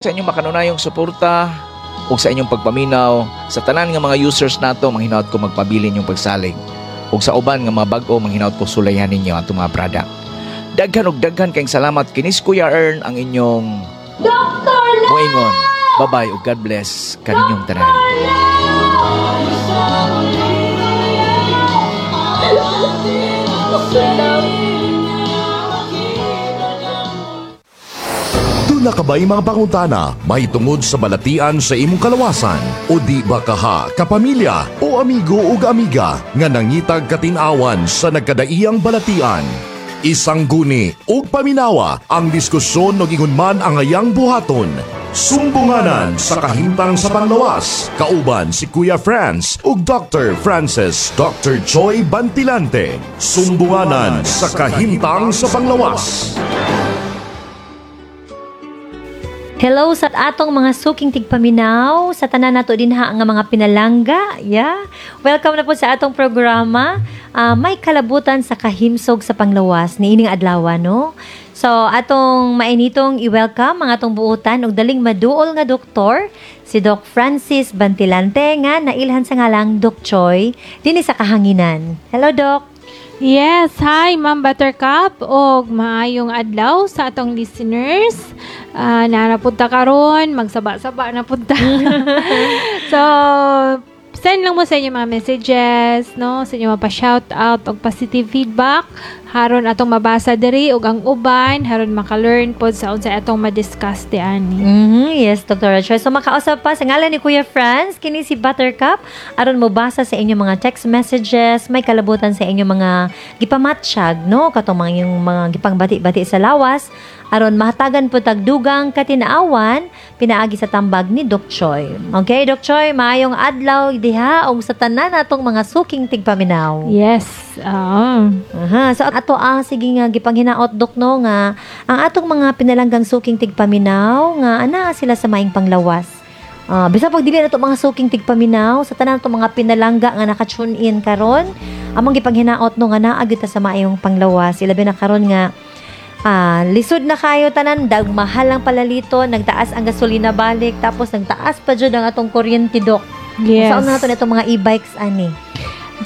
Sa inyong makanunayong suporta ug sa inyong pagpaminaw sa tanan nga mga users nato, manghinaot ko magpabilin yung pagsalig ug sa uban nga mga bag-o, manghinaot ko sulayan ninyo atong mga product. Daghan og daghan kayong salamat. Kinis Kuya Ern ang inyong Dr. Love! moingon. Bye-bye ug God bless kaninyong tanan. Dr. Love! Duna ka ba'y mga pangutana may tungod sa balatian sa imong kalawasan? O di ba kaha, kapamilya o amigo ug amiga nga nangitag katinawan sa nagkadaiyang balatian? Isang guni ug paminawa ang diskusyon og ingon man ang ayang buhaton. Sumbunganan sa kahimtang sa panglawas. Kauban si Kuya Franz ug Dr. Francis Dr. Joy Bantilante. Sumbunganan sa kahimtang sa panglawas. Hello sa atong mga suking tigpaminaw, sa tanan nato dinha nga mga pinalangga. Yeah. Welcome na po sa atong programa. May kalabutan sa kahimsog sa panglawas niining adlaw, no? So atong mainitong i-welcome ang atong buutan og daling maduol nga doktor, si Doc Francis Bantilante nga nailhan sa ngalang Doc Choi dinhi sa kahanginan. Hello, Doc. Yes, hi Ma'am Buttercup og maayong adlaw sa atong listeners. Naa na pud ta karon, magsaba-saba na pud ta. So, send lang mo sa inyong mga messages, no? Sa inyong mga pa-shout out og positive feedback haron atong mabasa diri og ang uban haron maka-learn pod sa unsa atong ma-discuss di ani. Yes, Dr. Choi. So makausap pa sa ngalan ni Kuya Franz, kini si Buttercup, aron mobasa sa inyong mga text messages, may kalabutan sa inyong mga gipamatsyag, no? Katong mga yung mga gipangbati-bati sa lawas, aron mahatagan po tagdugang katinaawan pinaagi sa tambag ni Doc Choi. Okay, Doc Choi, maayong adlaw diha og sa tanan natong mga suking tigpaminaw. Yes. Oo. Aha, so ato ang sige nga gipanghinaot, Dok, no, nga ang atong mga pinalanggang suking tigpaminaw nga ana sila sa maing panglawas. Bisa pag dili na to mga suking tigpaminaw, sa tanan atong mga pinalangga nga naka-tune in karon, among gipanghinaot, no, nga naa gyud ta sa maayong panglawas, ilabi na karon nga lisod na kayo tanan, dag mahal ang palalito, nagtaas ang gasolina balik, tapos nagtaas pa jud ang atong kuryente, Dok. Yes. Saan na nato itong mga e-bikes ani?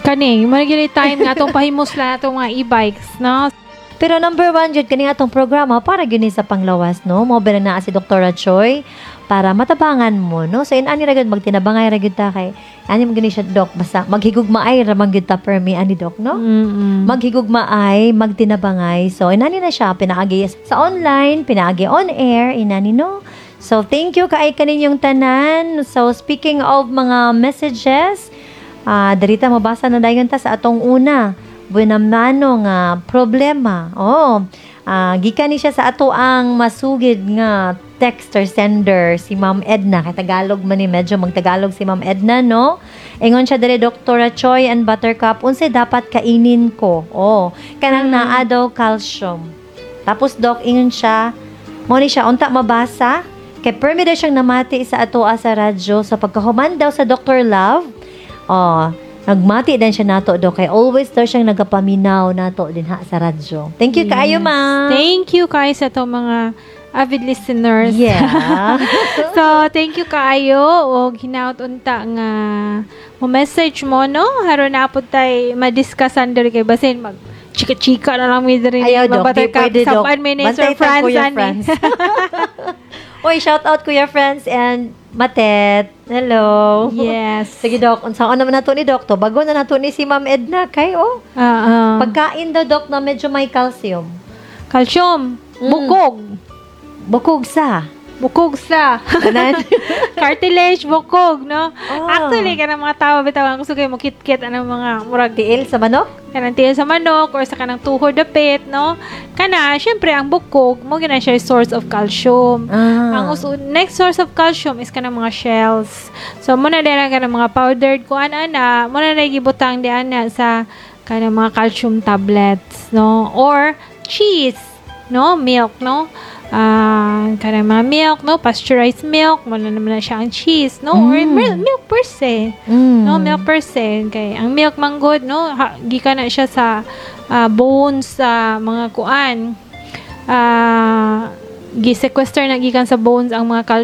Kani, mo na gyud time nga atong pahimos lang atong mga e-bikes, no? Pero number one jud kani atong programa para gyud ni sa panglawas, no? Mo ba na si Dr. Choi para matabangan mo, no? So inani ra gyud, magtinabangay ra gyud ta kay ani mo gyud ni siya, Doc, basta maghigugmaay ra man gyud ta permi ani, Doc, no? Maghigugmaay, magtinabangay. So inani na siya pinaagi sa online, pinaagi on air, inani, no? So thank you kaay kaninyong tanan. So speaking of mga messages, darita mabasa na dayon ta sa atong una buenamano nga problema. Oh, gikan ni siya sa ato ang masugid nga texter sender, si Ma'am Edna. Kay Tagalog man ni, medyo magtagalog si Ma'am Edna, no? Ingon siya diri, "Dr. Choi and Buttercup, unsay dapat kainin ko?" Oh, kanang naa daw calcium. Tapos, Doc, ingon siya, mo ni siya unta mabasa kay permi daw siyang namati sa atoa sa radyo sa pagkahuman daw sa Dr. Love. Oh, nagmati din siya nato, Dok, kay always daw siyang nagapaminaw nato din ha sa radyo. Thank you kaayo, ma'am. Thank you kaayo sa atong mga avid listeners. So, thank you kaayo og hinaut unta nga mo message mo, no, haron na pud tay madiscussan diri kay basin mag chika-chika na lang mi diri. Ayaw, Dok. Di pwede, Dok. Sapan mi ni Sir Bantay ta, Franz Kuya ani. Franz. Uy, shout out Kuya Franz and Matet. Hello. Yes. Sige, Dok. Unsaon naman nato ni Dok to? Bago na nato ni si Ma'am Edna kay oh. Pagkain daw, Dok, na medyo may calcium. Calcium, bukog. Bukog sa. Bukog sa. Tanan. Cartilage, bukog, no? Ah. Actually, kanang mga tao bitaw ang gusto kayo mo kit-kit anang mga murag Tiil sa manok? Kanang tiil sa manok or sa kanang tuhod dapit, no? Kana, syempre ang bukog mo gina siya source of calcium. Ang next source of calcium is kanang mga shells. So mo na din ang kanang mga powdered kuan ana, mo na na gibutang di ana sa kanang mga calcium tablets, no? Or cheese, no? Milk, no? Kanang mga milk, no? Pasteurized milk, mo na naman na siya ang cheese, no? Or milk per se. No, milk per se. Kay ang milk man good, no? Ha, gikan na siya sa bones sa mga kuan. Gi-sequester na gikan sa bones ang mga calcium.